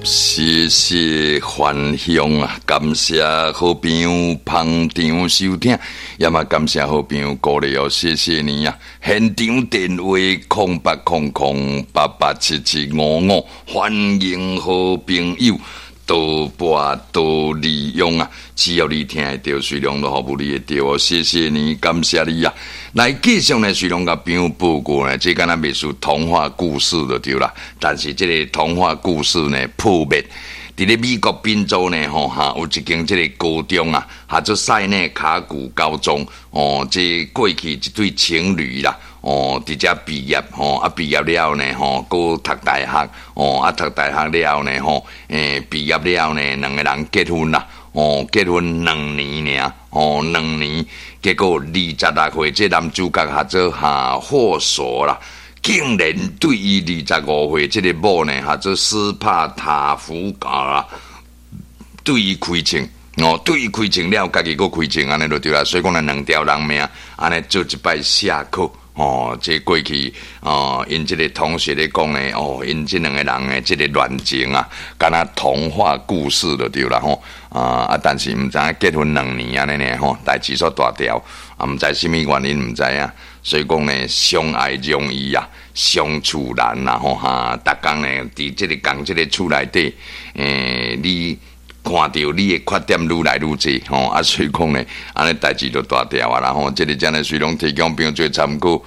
謝謝幻鄉啊！感謝好朋友捧場收聽，也嘛感謝好朋友鼓勵哦，謝謝你啊！現場電話0800887755，歡迎好朋友多撥多利用啊！只要你聽會著，隨量都服務你會著哦，謝謝你，感謝你啊！來繼續呢，隨量共朋友報告呢，這敢若袂輸童話故事就對啦。但是這个童話故事呢破滅，佇咧美國賓州呢，吼哈有一間這个高中啊，號做塞內卡谷高中哦，這過去一對情侶啦，哦，佇遮畢業吼，啊畢業了呢，吼，閣讀大學，哦，啊讀大學了呢，吼，畢業了呢，兩个人結婚啦，哦，結婚兩年爾，哦，兩年，結果26歲，這男主角號做哈霍索啦，竟然對伊25歲這个某呢，號做斯帕塔福嘎啦，對伊開槍。哦，對伊開槍了，家己閣開槍，按呢就對啦。所以講呢，兩條人命，按呢做一擺下課。哦，這過去哦，𪜶這个同學咧講呢，哦，𪜶這兩个人的這个戀情啊，敢若童話故事就對啦吼。啊，但是毋知影結婚兩年按呢爾吼，代誌煞大條，啊，毋知啥物原因毋知影。所以講呢，相愛容易啊，相處難啦吼哈。逐工呢，佇這个仝這个厝內底，你看著你的缺點愈來愈濟吼，啊，所以講呢，按呢代誌就大條啊啦吼。這个真的隨攏提供朋友做參考。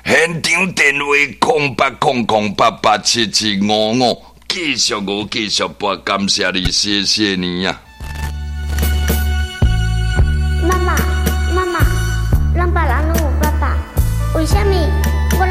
現場電話0800887755，繼續我繼續撥，感謝你，謝謝你啊！媽媽，媽媽，咱別人攏有爸爸，為啥物？